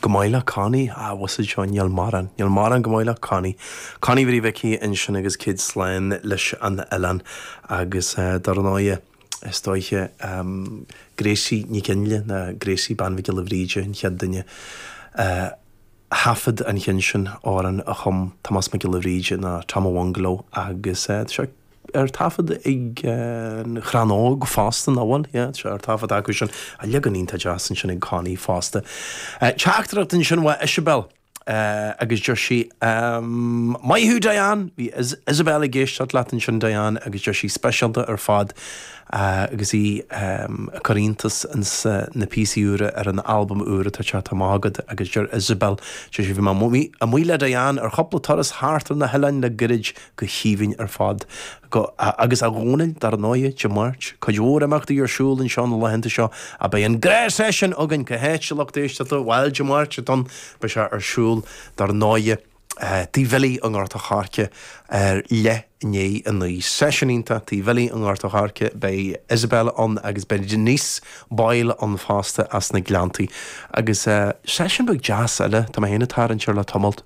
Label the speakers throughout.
Speaker 1: Go maith le Connie, ah bhfuil fhios a'd seo, níl mórán, níl mórán go maith le Connie. Connie Mharie Mhicí ansin agus céad slán leis an oileán agus dar ndóighe, is dóiche, Gracie Nic Fhionnghaile nó Gracie Bean Mhic Giolla Bhríde an chéad duine a thaifead an cheann sin, amhrán a chum Tomás Mac Giolla Bhríde nó Tom a' Bhungaló agus tá sé ar taifead ag an Chrann Óg fosta, nach bhfuil? Yeah, tá sé ar taifead acu sin. Leagan iontach deas ansin ag Connie fosta. Teachtaireacht ansin uaidh Isabel agus deir sí, Maith thú Diane! Bhí Isabel ag éisteacht leat ansin Diane agus deir sí speisialta ar fad agus í ag cur iontas ins na píosaí úra ar an albam úr atá teacht amach agat agus deir Isabel, deir sí bhí mé amuigh le Diane ar chúpla turas thart ar na hoileáin le goirid go haoibhinn ar fad. Go, agus a Dhónaill, dar ndóighe, Dé Máirt. Cuid mhór imeachtaí ar siúl anseo na laethanta seo, ach beidh an gnáthsheisiún againn, cá háit, a lucht éisteachta, bhuel, Dé Máirt atá ann, beidh sé ar siúl, dar ndóighe, Tigh Bhilí i nGort a' Choirce ar leath i ndiaidh a 9. Seisiún iontach, Tigh Bhilí i nGort a' Choirce, beidh Isabel ann agus beidh Denise Boyle ann fosta as na Gleanntaí. Agus seisiún beag deas eile, tá mé féin ag tarraingt air le tamalt.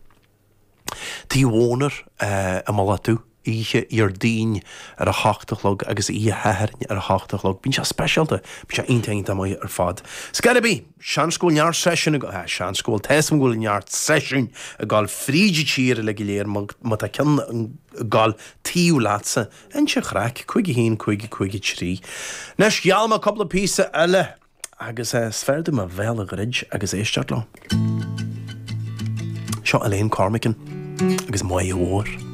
Speaker 1: Tigh Mhónair i Mullach Dubh, oíche Dhéardaoin ar a hocht a chlog agus oíche Shathairn ar a hocht a chlog. Bíonn sé speisialta, bíonn sé iontach iontach maith ar fad. Scor ar bith, seans go bhfuil neart seisiún ag, ah, seans go bhfuil, tá 'fhios a'm go bhfuil neart seisiún ag dul fríd an tír uilig go léir, má tá ceann ag dul taobh leatsa, inis an chraic, 5 1 5 5 3. Anois, gheall mé cúpla píosa eile. Agus is fearr dom mo bhéal a dhruid agus éisteacht leo. Seo Elaine Cormican agus Máighe Mhór.